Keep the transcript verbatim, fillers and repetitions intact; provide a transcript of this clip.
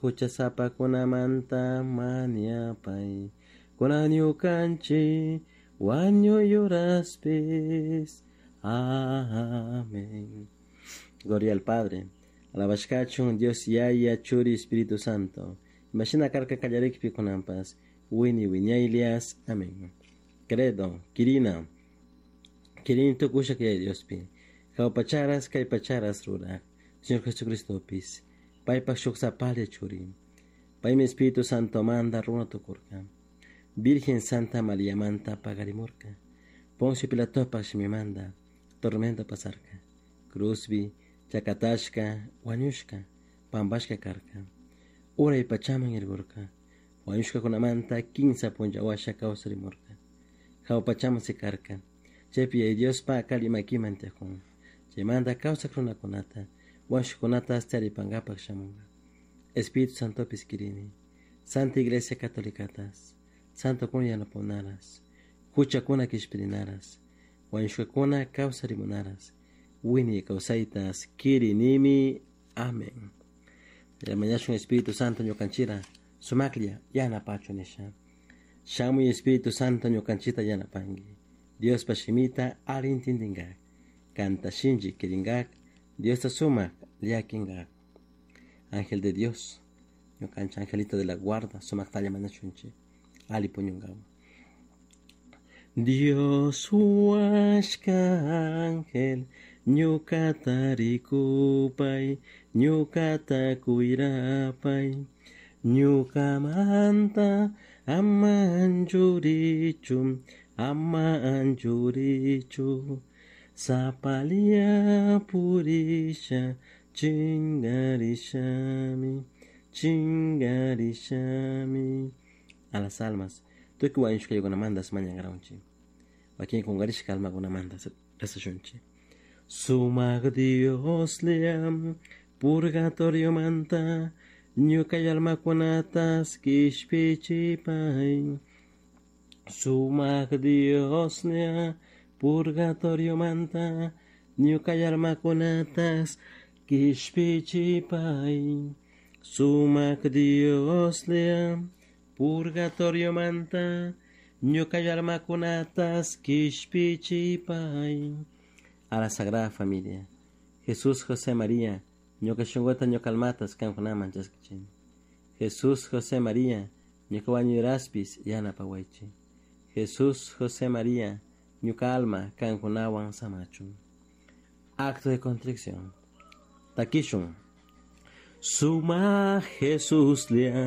Huchasapakunamanta mañapay, kunan ñukanchik wañuy uraspis. Amén. Gloria al Padre. Alabashkachun Dios Yaya Churi Espíritu Santo. Imashina karka kallarikpi kunanpas. Wiñay wiñaylias. Amén. Credo, Quirina. Quirini tukushak Yaya Diospi. Jahua pacharas kay pacharas ruraj. Señor Jesucristopis. Paypak shuk sapalla churi. Paymi Espíritu Santomanta runa tukurka. Virgen Santa Mariamanta paqarimurka. Poncio Pilatopak shimimanta tormento pasarka. Cruzpi chakatashka wañushka pampashka karka. Uray pachaman irkurka. Wañushkakunamanta kimsa punlla washa kawsarimurka. Jahua pachaman sikarka. Chaypi Yaya Diospa alli makiman tiyakun. Chaymanta kawsak runakunata wañushkakunata taripankapak shamunka. Espíritu Santopis kirini. Santa Iglesia Catolicatas. Santokuna yanapakunaras. Huchakuna kishpirinaras. Wañushkakuna kawsarimunaras. Wiñay kawsaytas kirinimi. Amén. Mañashun Espíritu Santo ñukanchira. Sumaklla yanapachun nisha. Shamuy Espíritu Santo ñukanchita yanapanki. Diospa shimita alli intindinkak. Kanta shinchi kirinkak. Diosta sumak llakinkak. Ángel de Dios, ñukanchik angelito de la guarda, sumaktalla mañashunchik. Ali puñunkawan. Dios huashka ángel, ñukata rikupay, ñukata cuirapay, ñukamanta ama anchurichu, ama anchurichu, sapalla purisha, chingarishami, chingarishami. A las almas, tukuy wañushkakunamantas mañankaranchik. Wakin kunkarishka almakunamanta rezashunchik. Sumak Dioslla purgatoriomanta ñuka almakunatas kishpichipay. Sumak Dioslla purgatoriomanta ñuka almakunatas kishpichipay. Sumak Dioslla purgatoriomanta ñuka almakunatas kishpichipay. A la Sagrada Familia. Jesús, José, María, ñuka shunkuta ñuka almatas kankunaman chaskichini. Jesús, José, María, ñuka wañuy uraspis yanapawaychik. Jesús, José, María, ñuka alma kankunawan samachun. Acto de contrición. Takishun. Sumak Jesuslla.